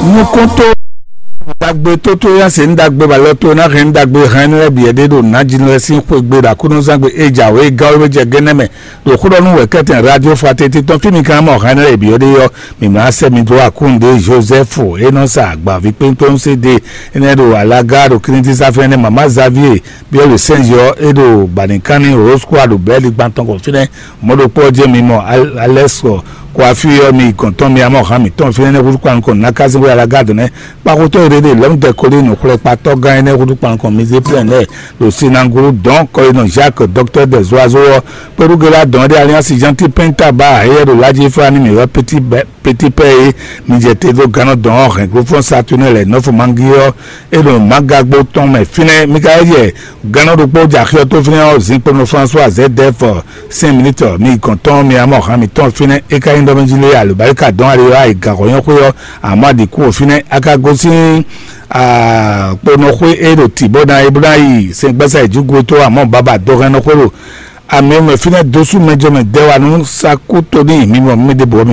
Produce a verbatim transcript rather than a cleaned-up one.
Nukɔntɔ́ ɖagbe tótó yá se ńdagbe balɔ tó ná hɛn ńdagbe hɛn nú ɛbí ɛɖé ɖo nǎjínú lɛ́ɛ sín xwé gbe ɖo akúnúzángbe é jǎwe gán wé jɛ gɛ́nɛ́ mɛ ɖo xó ɖɔ nú wɛ̌kɛ́tɛn radio fraternité tɔn fí mi kan mɔ hɛn nú ɛbí ɔ́ ɖé ɔ́, mi mlá sɛ mi dó akúnɖe Joseph é nɔ sa agbaví kpénkpén sé de énɛ́ ɖo alaga ɖo kínítísá fɛ́nɛ́ mama Xavier biɔ́ le sɛ́nzɔ é ɖo banikanni rosquare ɖo bɛ́li gbantɔn kɔ fínɛ́. Mɔ̌ ɖokpó ɔ́ jẹ́ mi mɔ alɛ́sɔ kó afí ɔ́ mi gɔn tɔn mi amɔ hán mǐtɔn fínɛ́ nɛ́ húzú kpán kɔn ná ká sín xwé alaga dɔn nɛ́ kpákótɔ́ e ɖéɖé lɔ̌mdɛ kɔlí nǔxwlɛ́kpatɔ́ gán énɛ́ húzú kpán kɔn mizé plɛ́n lɛ́ɛ ɖo sinangolo dɔn kɔyinɔ Jacques docteur des oiseaux ɔ́ kpéɖúgélá dɔn ɖé alliance gentil penta ba éyɛ́ ɖo lájí fá ní mǐ wɛ petit bɛ petit pɛ e mi jɛ te dó gannɔ dɔn ɔ́ hɛn glófɔ́n saturne lɛ nɔ́fɔ mangi ɔ́ é ɖo magagbo tɔn mɛ fínɛ́ mi ka yɛ gannɔ ɖokpó jɛ axi ɔ́ tó fínɛ́ ɔ́ zinkponɔ françois zedef cinq minutes mi gɔn tɔn mi amɔ hàn mi tɔn fínɛ́ é ka nyí ɖɔ mɛ jí lé alobáríkà dɔn ali ɔ́ ayi gǎxɔ nyɔ́ xwé ɔ́ àmọ́ àdìkú ò fínɛ́ a ka gosín kponɔ xwé é ɖo tǐ bó ná é bó ná yi sɛngbɛ́sá ìjúgu tó àmọ́ baba dó hɛn nɔ xwé ɖo àmì mɛ fínɛ́ dósú mɛjɔmɛ dɛwanu sakú tóní mi mɔ mi ɖe bɔ mi